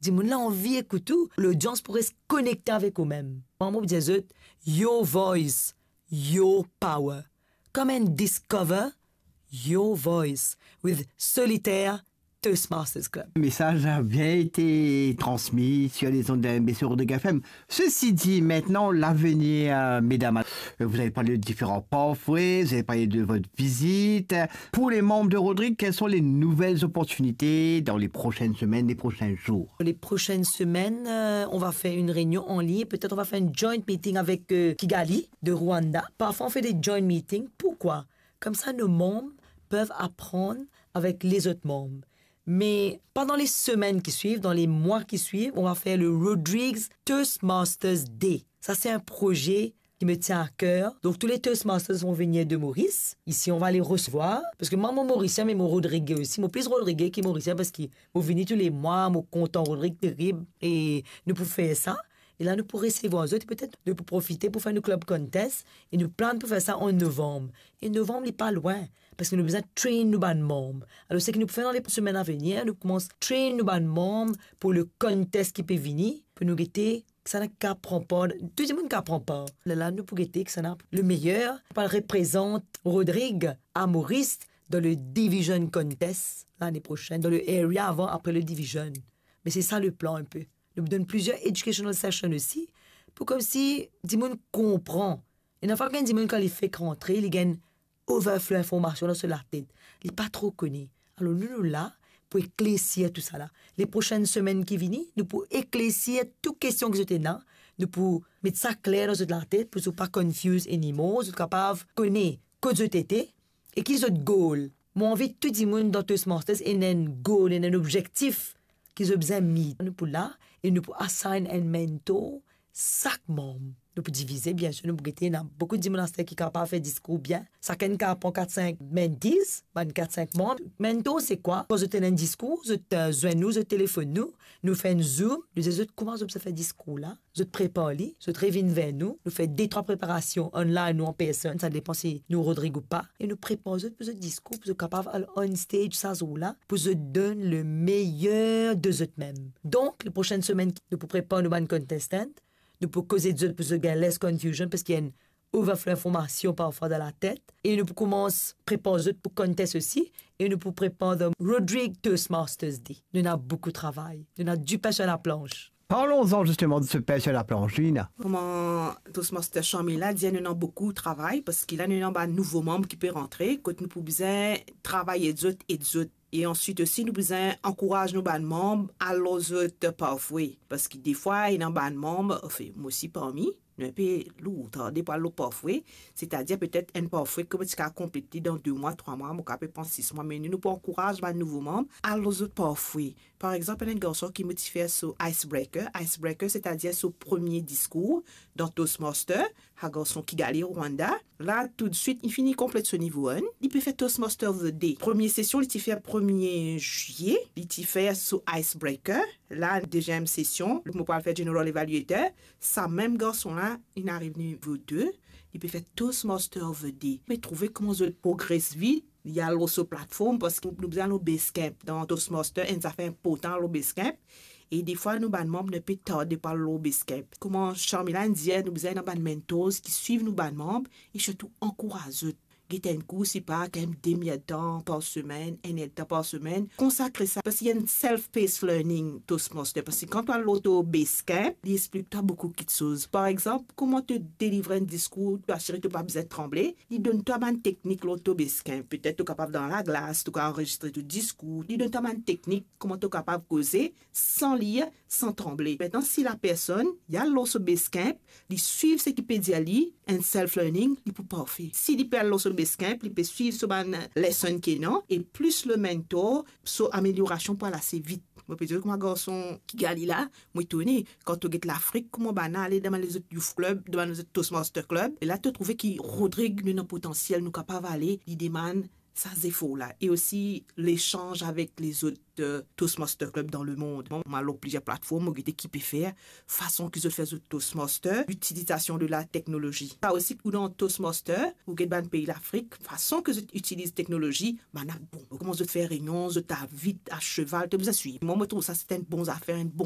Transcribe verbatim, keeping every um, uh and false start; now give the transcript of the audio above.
Dimoun la anvi ekout ou, lodians pou res konekte avek ou mem. Mwa, mo dir zot, your voice, your power. Come and discover your voice with Solitaire Toastmasters Club. Le message a bien été transmis sur les ondes de M B C Rodrigue F M. Ceci dit, maintenant, l'avenir, euh, mesdames, euh, vous avez parlé de différents pathways, vous avez parlé de votre visite. Pour les membres de Rodrigue, quelles sont les nouvelles opportunités dans les prochaines semaines, les prochains jours ? Les prochaines semaines, euh, on va faire une réunion en ligne. Peut-être on va faire une joint meeting avec, euh, Kigali de Rwanda. Parfois, on fait des joint meetings. Pourquoi ? Comme ça, nos membres peuvent apprendre avec les autres membres. Mais pas dans les semaines qui suivent, dans les mois qui suivent, on va faire le Rodrigues Toastmasters Day. Ça, c'est un projet qui me tient à cœur. Donc, tous les Toastmasters vont venir de Maurice. Ici, on va les recevoir. Parce que moi, mo Morisien, me mo Rodrigué aussi. Mo plis Rodrigué ki Morisien, parski mo vini tou le mwa, mo kontan Rodrig terib. E nou pou fer sa. E la, nou pou resevwar zot, e petet nou pou profite pou fer nou club contest. E nou plan pou fer sa an novanm. E novanm, li pa lwin. Parski nou bizin train nou bann manm. Alor, seki nou pou fer dan le semenn avenir, nou koumans train nou bann manm pou le contest ki pe vini, pou nou gete kisannla ki kapav pran par, tou dimoun kapav pran par. Lerla nou pou gete kisannla le meyer, pou al reprezant Rodrig a Moris dan le division contest lane prosenn, dan le area avan, apre le division. Me se sa le plan inpe. Nou donn plizier educational session osi, pou komsi dimoun konpran. Ena fwa ki enn dimoun, kan li fek rantre, li gagn overflow informasion dan so latet. Li pa tro kone. Alor, nou, nou la pou eklersir tou sa la. Le prosenn semenn ki vini, nou pou eklersir tou kestion ki zot ena. Nou pou met sa kler dan zot latet, pou zot pa confuse anymore, zot kapav kone kot zot ete e ki zot goal. Mo anvi tou dimoun dan Toastmasters ena enn goal, ena enn obzektif ki zot bizin meet. Nou pou la e nou pou assign enn mentor sak manm. Nou pou divize, biensir, nou pou gete, ena boukou dimoun aster ki kapav fer diskour bien. Sakenn kapav pran kat, sink mentees, bann kat, sink manm. Mentor, se kwa? Kan zot ena enn diskour, zot, eh, zwenn nou, zot telefonn nou, nou fer enn Zoom, nou dir zot kouma zot bizin fer diskour la, zot prepar li, zot revinn ver nou, nou fer de, trwa preparasion online ou an personn, sa depan si nou Rodrig ou pa, e nou prepar zot pou zot diskour, pou zot kapav al on stage sa zour la, pou zot donn le meyer de zot mem. Donk, le prosenn semenn, nou pou prepar nou bann contestant, nou pou koze zot pou zot gagn less confusion, parski ena enn overflow informasion parfwa dan latet, e nou pou koumans prepar zot pou contest osi, e nou pou prepar the Rodrig Toastmasters Day. Nou ena boukou travay, nou ena dipin sir laplanch. Parlons-en justement de ce pain sur la planche, Lina. Kouma Toastmaster Sharmila dir, nou ena boukou travay, parski la nou ena bann nouvo manm ki pe rantre, kot nou pou bizin travay ed zot, ed zot. E answit osi, nou bizin ankouraz nou bann manm, al lor zot pathway. Parski defwa, ena bann manm, anfin, mo osi parmi, nou inpe lour, tarde pou al lor pathway, setadir petet enn pathway ki mo ti kapav konplet li dan de mwa, trwa mwa, mo kapav pran sis mwa, me nou, nou pou ankouraz bann nouvo manm, al lor zot pathway. Par exanp, ena enn garson ki mo ti fer so icebreaker. Icebreaker, setadir so premie diskour dan Toastmaster, sa garson Kigali, Rwanda. La, toudswit, li fini konplet so nivo enn. Li pe fer Toastmaster of the Day. Premie sesion, li ti fer premie zilie. Li ti fer so icebreaker. La, deziem sesion, mo pou al fer General Evaluator. Sa mem garson la, li ariv nivo de. Li pe fer Toastmaster of the Day. Me trouve kouma zot progres vit. Li al lor so platform, parski nou bizin al lor Basecamp. Dan Toastmaster, enn zafer inportan al lor Basecamp. E defwa, nou bann manm, nou pe tarde pou al lor Basecamp. Kouma Sharmila inn dir, nou bizin ena bann mentors ki swiv nou bann manm e sirtou ankouraz zot. Get enn kour, sipa, kanmem demi-ertan par semenn, enn ertan par semenn. Konsakre sa, parski ena enn self-paced learning Toastmaster. Parski kan to al lor to Basecamp, li explik twa boukou kiksoz. Par exanp, kouma to delivre enn diskour, to asire to pa bizin tranble. Li donn twa bann teknik lor to Basecamp. Petet to kapav dan laglas, to kapav anrezistre to diskour. Li donn twa bann teknik kouma to kapav koze san lir, san tranble. Aster, si lapersonn, li al lor so Basecamp, li swiv seki pe dir li, enn self-learning, li pou parfe. Si li pe al lor so Basecamp, li pe swiv so bann lesson ki ena, e plis le mentor, so ameliorasion pou al ase vit. Mo pe dir kouma garson Kigali la, mo etone, kan to get Lafrik, kouma bann ale dan bann lezot youth club, dan bann lezot Toastmaster club, e la to trouve ki Rodrig, nou ena potansiel, nou kapav ale, li demann sa zefor la. E osi lesanz avek lezot, eh, Toastmaster club dan lemond. Bon, mo al lor plizier platform, mo gete ki pe fer, fason ki zot fer zot Toastmaster, l'utilisation de la technologie. Sa osi, ou dan Toastmaster, ou get bann pei Lafrik, fason ki zot itiliz teknolozi, bann la bon. Kouma zot fer reynion, zot al vit, a seval, to bizin swiv. Mwa, mo trouv sa se enn bon zafer, enn bon